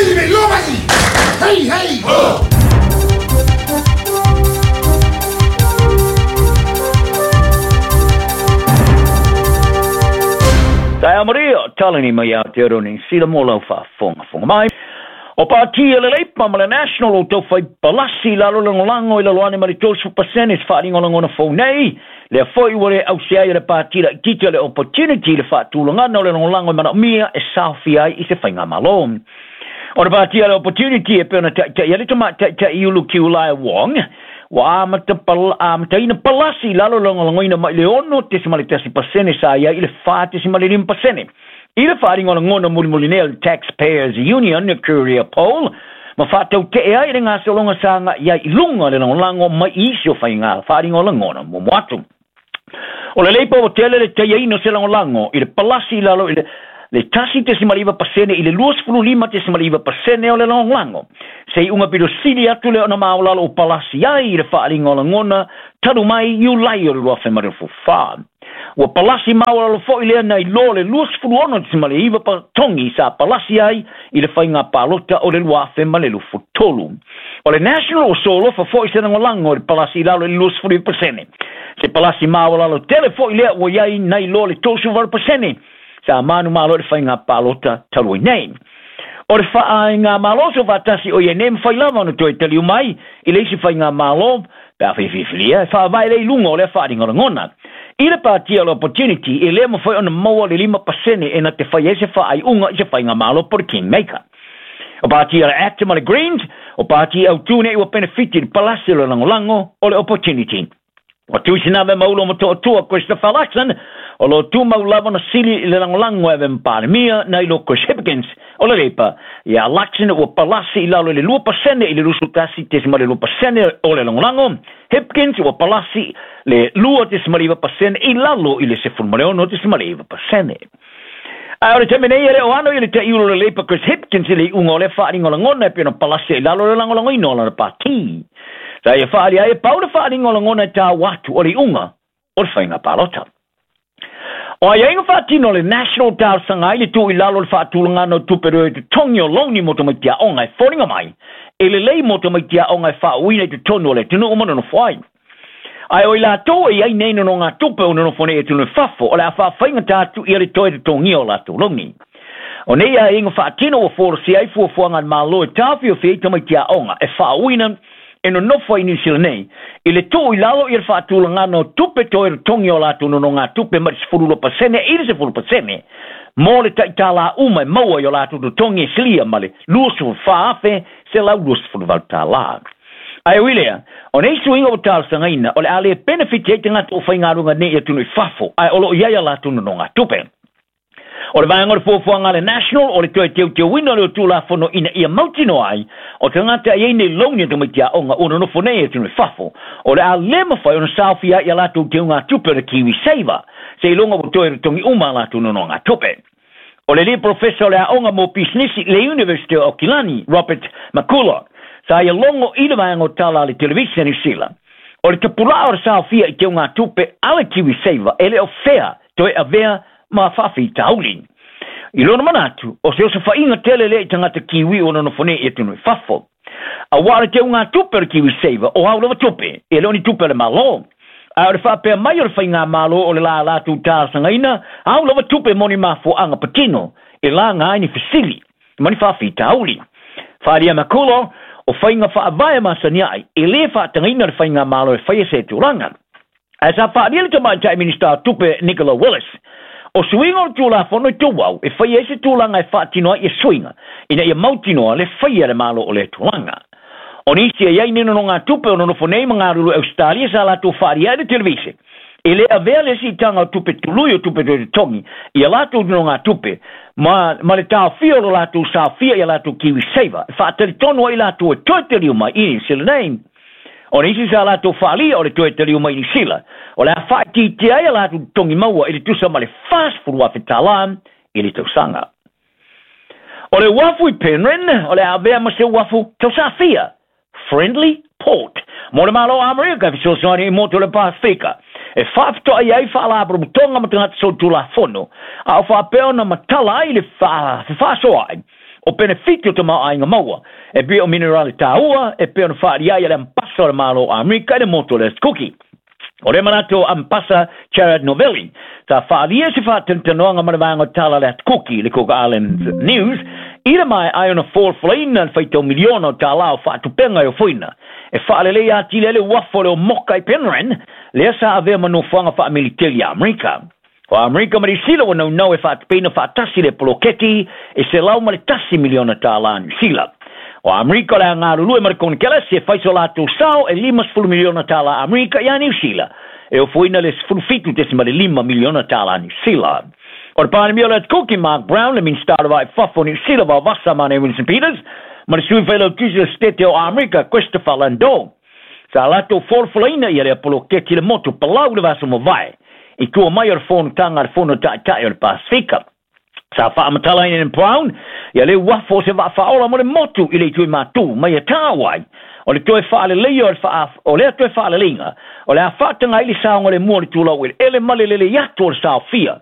Hei, hei! Taeao maria, talani mai Aotearoa Niu Sila mo lau faafogafoga mai. O pati a le Leipa ma le National o taufai palasi i lalo lagolago i lalo ane ma le 30% se faaaliga o lagona fou nei. Lea foi ua le ausia ai e le pati laitiiti a le Opportunity le faatulagana o le lagolago e manaomia e saofia ai i se faigamalo. O le pati a le Opportunity e pei ona taitai ai le tamaitai Iulu Kiulae Wong, ua amata amataina palasi i lalo lagolagoina mai le 6.1% sa i ai i le 4.5%. I le faaaliga o lagona mulimuli nei a le Taxpayers Union Courier Poll, ma faatautee ai le gasologa sa agai ai i luga le lagolago mai i isi o faiga faaaliga o lagona muamua atu. O le Leipa ua tele le taiaina o se lagolago i le palasi i lalo i le 1.9% i le 25.9% o le lagolago. Se iuga pito sili atu lea ona maualalo o palasi ai i le faaaliga o lagona talu mai Iulai o le 2024. Ua palasi maualalo foi lea nai lo le 26.9 togi sa palasi ai i le faiga palota o le 2023. O le National ua solofa foi se lagolago i le palasi i lalo i le 29%. Se palasi maualalo tele foi lea ua i ai nai lo le 38% sa manumalo i le faiga palota talu ai nei. O le faigamalo soofaatasi o i ai nei e mafai lava ona toe taliu mai i le isi faigamalo pe a filifilia e faavae lea i luga o lea faaaliga lagona. I le patia o le Opportunity, e le mafai ona maua le 5% e na te fai ai se faaiuga i se faigamalo po o le Kingmaker. O patia le Act ma le Greens, o pati autū nei ua penefiti i le palasi o le lagolago o le Opportunity. Ua tuusinave ma ulo motootua Christopher Luxon, o lo tumau lava ona sili i le lagolago e ave ma Palemia nai lo Chris Hipkins o le Leipa. Ia Luxon ua palasi i lalo i le 2% i le 21.2% o le lagolago, Hipkins ua palasi le 2.9% i lalo i le 16.9%. Ae o le taimi nei e le o ano i le taiulu o le Leipa Chris Hipkins i le iuga o lea faaaliga o lagona e pei ona palasi ai i lalo le lagolagoina o lana pati. Sa ia faaali ai e pau le faaaliga o lagona e taua atu o le iuga o le faiga palota. O aiaiga faatino a le National talosaga ai le tuu i lalo o le faatulagana o tupe reo i totogi o louni mo tamaiti aoga e foliga mai e lelei mo tamaiti aoga e faauuina i totonu o le atunuu ma nonofo ai. Ae o i latou e i ai nei nonogatupe o nonofo nei i atunuu i fafo, o le a faafaigata atu ia le toe totogia o latou louni. O nei aiaiga faatino ua folasia ai fuafuaga a le Malo e taofiofi ai tamaiti aoga e faauuina e nonofo ai i Niu Sila nei, i le tuu i lalo ia le faatulagana o tupe toe totogi o latou nonogatupe mai le 12% i le 10% mo le taitala uma e maua i o latou totogi e silia ma le $24,128. Ae ui lea, o nei suiga ua talosagaina, o le a le penefiti ai tagata o faigaluega nei i atunuu i fafo, ae o lo o i ai a latou nonogatupe. O le vaega o le fuafuaga a le National o le toe teuteuina o le Tulafono ina ia mautinoa ai o tagata e i ai nei louni a tamaiti aoga ua nonofo nei i atunuu i fafo, o le a le mafai ona saofia ai i a latou teugatupe o le KiwiSaver, seiloga ua toe totogi uma a latou nonogatupe. O le alii polofesa o le aoga mo pisinisi i le University o Aukilani, Robert McCullough, sa ia logo i le vaega o tala a le televise a Niu Sila. O le tapulaa o le saofia i teugatupe a le KiwiSaver e le o fea toe avea ma faafitauli. I lona manatu, o se osofaiga tele lea i tagata Kiwi ua nonofo nei i atunuu i fafo. Aua o le teugatupe o le KiwiSaver, o au lava tupe, e le o ni tupe a le Malo. A o le faapea mai o le faigamalo o le la latou talosagaina, au lava tupe mo ni mafuaaga patino e laga ai ni fesili ma ni faafitauli. Faaalia Makulo, o faiga faavae masani ai, e le faatagaina le faigamalo e faia se tulaga. Ae sa faaalia le tamaitai Minisita o Tupe Nicola Willis, o suiga o le Tulafono i Tuau e faia ai se tulaga e faatino ai ia suiga ina ia mautinoa le faia e le Malo o lea tulaga. O nisi e i ai ni nonogatupe o nonofo nei ma galulue Ausetalia sa latou faaalia ai le televise, e le avea le siitaga o tupe tului o tupe toe totogi i a latou nonogatupe ma le taofia o lo latou saofia i a latou KiwiSaver e faatalitonu ai latou e toe taliu mai i Niu Sila nei. O nisi sa latou faaalia o le toe taliu mai i Niu Sila, o le a faaitiitia ai a latou totogi maua i le tusa ma le $40,000 i le tausaga. O le uafu i Penrhyn, o le a avea ma se uafu tausafia, friendly port, mo le Malo o Amerika e fesoasoani i motu o le Pasefika, e faafetoai ai faalapotopotoga ma tagata solitulafono, a o faapea ona matala ai le fefaasoaai O penefiti o tamaoaiga maua e pei o minerale tāua e pei ona faaalia ai e le Ambasa o le Malo o Amerika i le motu o le Kuki. O le manatu o Ambasa Jared Novelli, sa faaalia se faatanoatanoaga ma le vaega o tala a le Atu Kuki, le Cook Islands News, i le maea ai ona folafolaina le faitau miliona o tālā o faatupega e ofoina e faaleleia atili ai le uafu o le Omoka i Penrhyn, lea sa avea ma nofoaga faamiliteli a Amerika. O Amerika ma Niu Sila ua naunau e faatupeina faatasi le poloketi e $101 miliona tālā Niu Sila. O Amerika o le a galulue ma le Konekelesi e fai so latou sao e $50 miliona tālā Amerika iā Niu Sila e ofoina le $17.5 miliona tālā Niu Sila. O le Palemia o le Atu Kuki, Mark Brown, le Minisita o le Va i Fafo o Niu Sila, Vaovasa Mane Winston Peters, ma le Sui Failautusi o le Setete o Amerika, Christopher Landau, sa latou folafolaina ia lea poloketi i le motu Palau i le vaiaso mavae i tua mai o le fonotaga a le Fono Taitai o le Pasefika. Sa faamatalaina e Brown ia le uafu o se vaa faaola mo le motu i le itu i Matu mai e Tāwai. O le toe faaleleia o le faa, o lea toe faaleleiga, o le a faataga ai le saogalemu o le tulaueleele ma le lelei atu o le saofia.